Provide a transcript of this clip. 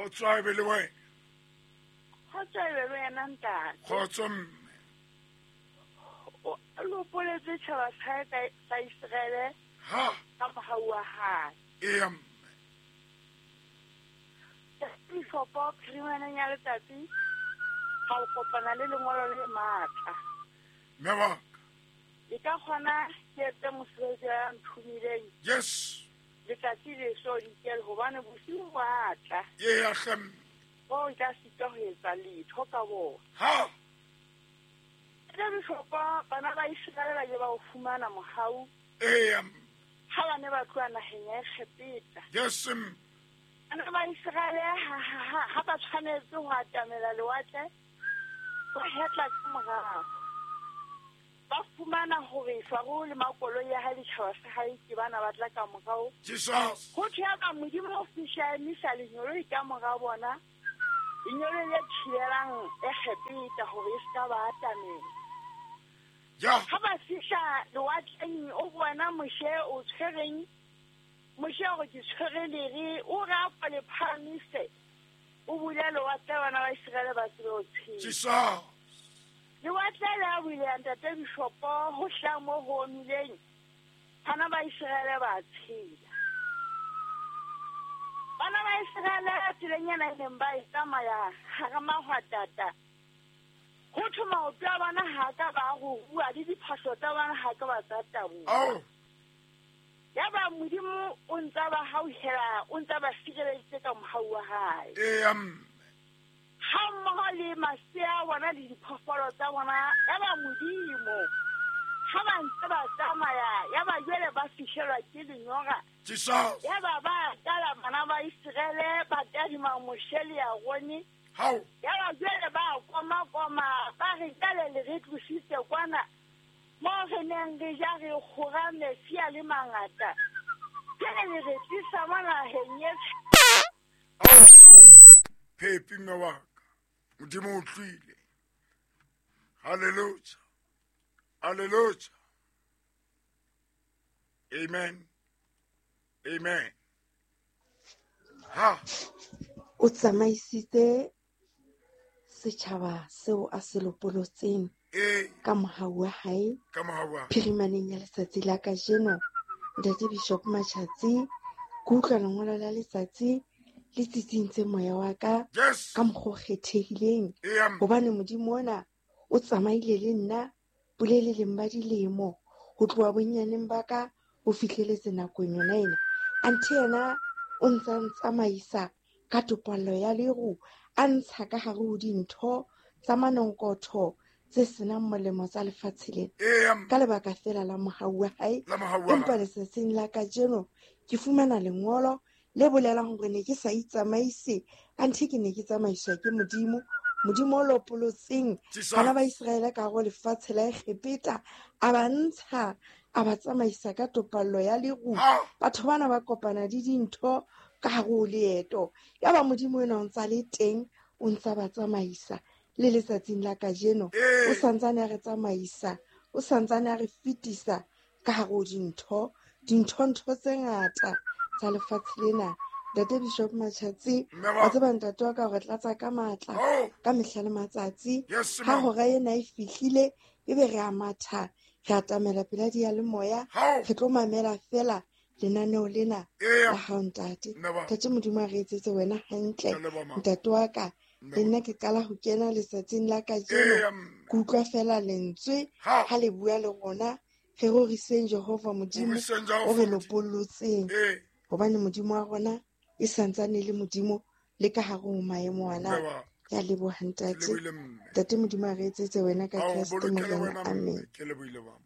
Kgotso a be le wena. Kgotso e be le wena ntate. Kgotso mme. O lopoletse tjhaba sa hae sa Iseraele Ha. ka mohau wa hae. Eya mme. Bishopo phirimaneng ya letsatsi ga o kopana le lengolo le matla. Mme wa ka. E ka kgona ke etse mosebetsi ya nthomileng. Yes. Letsatsi le so dikele hobane bosiu bo a tla. Eya hle mme. O nka sitwa ho etsa letho ka bona. Ha. Ntate Bishopo, bana ba Iseraele ba ile ba o fumana mohau. Eya mme. Ha ba ne ba tloha naheng ya Egepeta. Yes mme. Bana ba Iseraele ha ba tshwanetse ho atamela lewatle, ba hetla ka morao. Ba fumana hore Faro le makoloi ya hae le tjhaba sa hae ke bana ba tla ka morao. Jesus. Ho thwe ya ba Modimo o fihla a emisa lengeloi ka mora bona, lengeloi le thibelang Egepeta hore e se ka ba atamela. Ja. Ha ba fihla lewatleng, o bona Moshe o tshwereng. Moshe o re ke tshwere lere, o re a ko le phahamise, o bule lewatle bana ba Iseraele ba tsebe ho tshela. Jesus. Lewatle le a buleha ntate Bishopo, ho hlaha moo ho omileng, bana ba Iseraele ba tshela. Bana ba Iseraele tseleng ena e neng ba e tsamaya hara mahwatata, ho thwe maoto a bona ha a ka ba a ruruha, le diphahlo tsa bona ha ka ba tsa taboha. Ao. Yaba Modimo o ntsa ba hauhela, o ntsa ba sireleditse ka mohau wa hae. Eya mme. Ha mmoho le masea a bona le diphoofolo tsa bona, yaba Modimo ha ba ntse ba tsamaya, yaba jwale ba fihlelwa ke lenyora. Jesus. Yaba ba qala bana ba Iseraele ba tadima Moshe le Arone. Hao. Yaba jwale ba koma-koma, ba re jwale le re tlositse kwana moo re neng re ja re kgora metsi a le mangata. Jwale le re tlisa mo naheng e Ao. Phepi mme wa ka. Modimo o utlwile. Hallelujah. Hallelujah. Amen. Amen. Ha. O tsamaisitse setjhaba seo a se lopolotseng Ee. ka mohau wa hae. Ka mohau wa hae. Phirimaneng ya letsatsi la kajeno, Ntate Bishop Matjhatsi, ke utlwa lengolo la letsatsi le tsitsintse moya wa ka Yes. ka mokgwa o kgethehileng. Eya mme. Hobane Modimo ona o tsamaile le nna boleleleng ba dilemo, ho tloha bonyaneng ba ka ho fihleletse nakong yona ena. Anthe yena o ntsa ntsamaisa ka topallo ya leru, a ntsha ka hare ho dintho tsa manonkotho tse senang molemo tsa lefatshe lena. Eya mme. Ka lebaka feela la mohau wa hae. La mohau wa Empa hae. letsatsing la kajeno ke fumana lengolo le bolelang hore ne ke sa itsamaise, anthe ke ne ke tsamaiswa ke Modimo. Modimo o lopolotseng Jesus. bana ba Iseraele ka hare ho lefatshe la Egepeta, a ba ntsha, a ba tsamaisa ka topallo ya leru. Ha. Batho bana ba kopana le dintho ka hare ho leeto. Yaba Modimo ena o ntsa le teng, o ntsa ba tsamaisa le letsatsing la kajeno. Ee. O santsane a re tsamaisa, o santsane a re fetisa ka hare ho dintho, dintho-ntho tse ngata tsa lefatshe lena. Ntate Bishop Matjhatsi, Mme wa wa tseba ntate wa ka hore tlatsa ka matla, Oh. ka mehla le matsatsi. Yes, Ha ma'am. hora ena e fihlile, ebe re a matha, re atamela pela diyalemoya, Hao. re tlo mamela feela lenaneo lena Eya. la hao ntate. Mme wa Ntate Modimo a re etsetse wena hantle. Ke a leboha, ma'am. Ntate wa ka, Mme le wa nna ke qala ho kena letsatsing la kajeno. Eya, mme. Ke utlwa feela lentswe Ha. ha le bua le rona. Re roriseng Jehova Modimo Roriseng Jehova o re Modimo. lopollotseng. Ee. Hobane Modimo wa rona e santsane e le Modimo le ka hare ho maemo ana. Mme wa Ke a leboha Ke ntate. lebohile mme. Ntate Modimo a re etsetse wena ka Ao Kreste bolokele Morena. wena mme. Amen. Ke lebohile mama.